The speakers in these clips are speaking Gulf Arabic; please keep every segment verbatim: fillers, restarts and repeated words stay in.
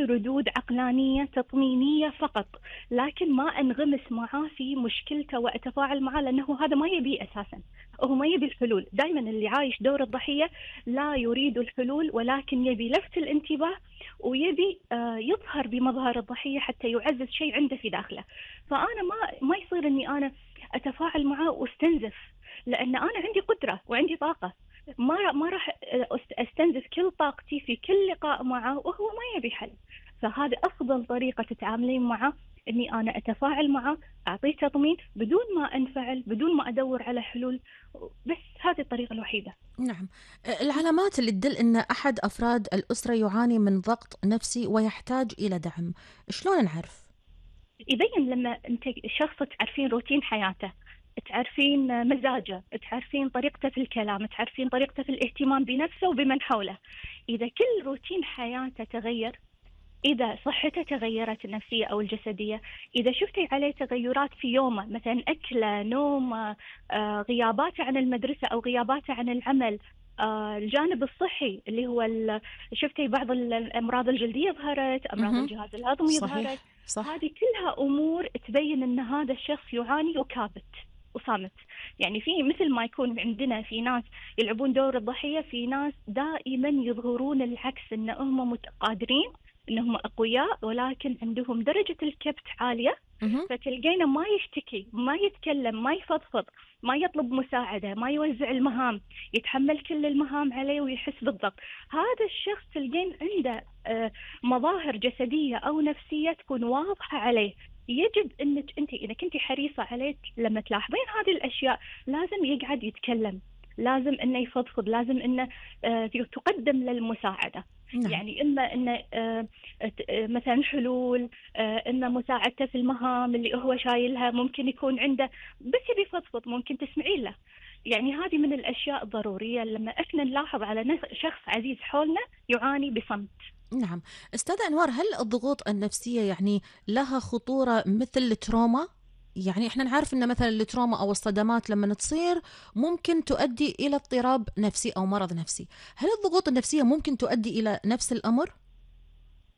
ردود عقلانية تطمينية فقط، لكن ما أنغمس معاه في مشكلته وأتفاعل معاه، لأنه هذا ما يبي أساسا. هو ما يبي الحلول. دائما اللي عايش دور الضحية لا يريد الحلول، ولكن يبي لفت الانتباه، ويبي آه، يظهر بمظهر الضحية حتى يعزز شيء عنده في داخله. فأنا ما ما يصير إني أنا أتفاعل معاه واستنزف، لأن أنا عندي قدرة وعندي طاقة. ما ما راح أست- استنزف كل طاقتي في كل لقاء معه وهو ما يبي حل. فهذا أفضل طريقة تتعاملين معه، إني أنا أتفاعل معه، أعطيه تطمين بدون ما أنفعل، بدون ما أدور على حلول. بس هذه الطريقة الوحيدة. نعم. العلامات اللي تدل أن أحد أفراد الأسرة يعاني من ضغط نفسي ويحتاج إلى دعم، شلون نعرف؟ يبين لما أنت شخص تعرفين روتين حياته، تعرفين مزاجه، تعرفين طريقته في الكلام، تعرفين طريقته في الاهتمام بنفسه وبمن حوله. إذا كل روتين حياته تغير، إذا صحته تغيرت النفسية أو الجسدية، إذا شفتي عليه تغيرات في يومه، مثلا أكله، نومه، آه، غياباته عن المدرسة أو غياباته عن العمل، آه، الجانب الصحي اللي هو ال- شفتي بعض ال- الأمراض الجلدية ظهرت، أمراض مهم. الجهاز الهضمي ظهرت. صحيح صح. هذه كلها أمور تبين أن هذا الشخص يعاني وكابت وصامت. يعني في مثل ما يكون عندنا في ناس يلعبون دور الضحية، في ناس دائما يظهرون العكس، ان هم متقادرين، انهم اقوياء، ولكن عندهم درجة الكبت عالية. مهم. فتلقينا ما يشتكي، ما يتكلم، ما يفضفض، ما يطلب مساعدة، ما يوزع المهام، يتحمل كل المهام عليه ويحس بالضغط. هذا الشخص تلقين عنده آه، مظاهر جسدية أو نفسية تكون واضحة عليه. يجب انك انت اذا كنتي حريصة عليه لما تلاحظين هذه الاشياء، لازم يقعد يتكلم، لازم انه يفضفض، لازم انه آه، تقدم للمساعدة. نعم. يعني اما انه آه، ت- آه، مثلا حلول، آه، اما مساعدته في المهام اللي هو شايلها، ممكن يكون عنده بس يبي يفضفض، ممكن تسمعين له. يعني هذه من الاشياء الضرورية لما احنا نلاحظ على نف- شخص عزيز حولنا يعاني بصمت. نعم. أستاذة أنوار، هل الضغوط النفسية يعني لها خطورة مثل التروما؟ يعني احنا نعرف ان مثلا التروما او الصدمات لما تصير ممكن تؤدي الى اضطراب نفسي او مرض نفسي، هل الضغوط النفسية ممكن تؤدي الى نفس الامر؟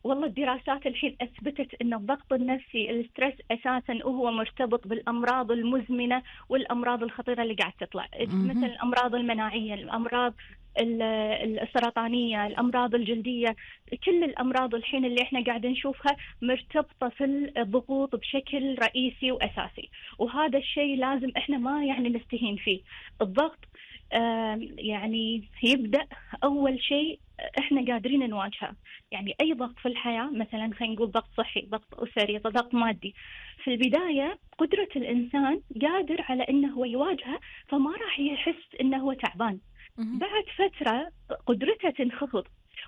والله الدراسات الحين أثبتت أن الضغط النفسي، الستريس أساسا وهو مرتبط بالأمراض المزمنة والأمراض الخطيرة اللي قاعد تطلع، مثل مهم. الأمراض المناعية، الأمراض ال- السرطانية، الأمراض الجلدية. كل الأمراض الحين اللي احنا قاعد نشوفها مرتبطة في الضغوط بشكل رئيسي وأساسي، وهذا الشيء لازم احنا ما يعني نستهين فيه. الضغط آم، يعني يبدأ أول شيء احنا قادرين نواجهه. يعني اي ضغط في الحياه، مثلا خلينا نقول ضغط صحي، ضغط اسري، ضغط مادي، في البدايه قدره الانسان قادر على انه هو يواجهه، فما راح يحس انه هو تعبان. مهم. بعد فتره قدرته تنخفض،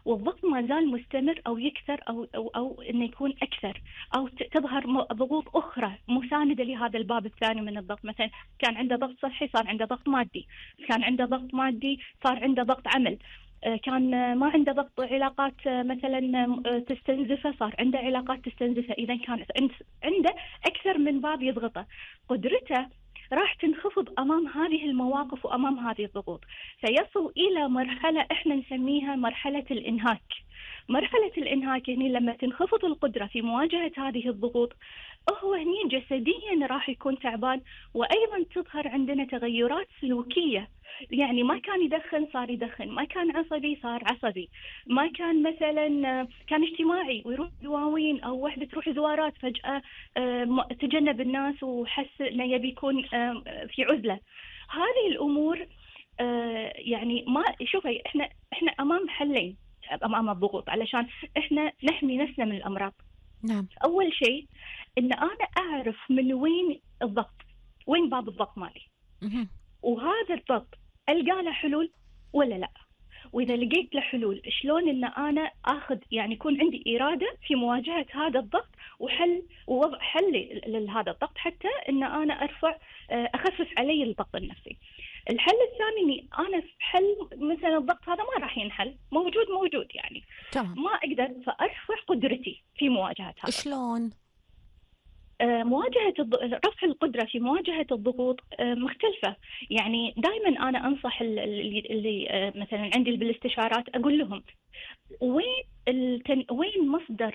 والضغط ما زال مستمر او يكثر، او او او انه يكون اكثر، او ت- تظهر م- ضغوط اخرى مسانده لهذا الباب الثاني من الضغط. مثلا كان عنده ضغط صحي، صار عنده ضغط مادي، كان عنده ضغط مادي، صار عنده ضغط عمل، آه، كان آه، ما عنده ضغط علاقات، آه، مثلا آه، تستنزفه، صار عنده علاقات تستنزفه. إذا كان عند- عنده أكثر من باب يضغطه، قدرته راح تنخفض أمام هذه المواقف وأمام هذه الضغوط، فيصل إلى مرحلة إحنا نسميها مرحلة الإنهاك. مرحلة الإنهاك يعني لما تنخفض القدرة في مواجهة هذه الضغوط، هو هني جسديا راح يكون تعبان، وأيضا تظهر عندنا تغيرات سلوكية. يعني ما كان يدخن صار يدخن، ما كان عصبي صار عصبي، ما كان مثلا آه، كان اجتماعي ويروح دواوين أو وحدة تروح زوارات، فجأة آه، م- تجنب الناس وحس إنه يبي يكون آه، في عزلة. هذه الأمور آه، يعني ما شوفي، احنا احنا أمام حلين أمام الضغوط علشان احنا نحمي نفسنا من الأمراض. نعم. أول شيء إن أنا أعرف من وين الضغط، وين باب الضغط مالي، مهم. وهذا الضغط ألقى له حلول ولا لا. وإذا لقيت له حلول، شلون إن أنا آخذ يعني يكون عندي إرادة في مواجهة هذا الضغط وحل ووضع حل لهذا الضغط، حتى إن أنا أرفع آه، أخفف علي الضغط النفسي. الحل الثاني إني أنا في حل مثلا الضغط هذا ما راح ينحل، موجود موجود يعني تمام. ما أقدر، فأرفع قدرتي في مواجهة هذا الضغط. شلون؟ آه، مواجهة الض... رفع القدرة في مواجهة الضغوط آه، مختلفة. يعني دائما أنا أنصح ال- اللي, اللي آه، مثلا عندي بالاستشارات، أقول لهم وين التن... وين مصدر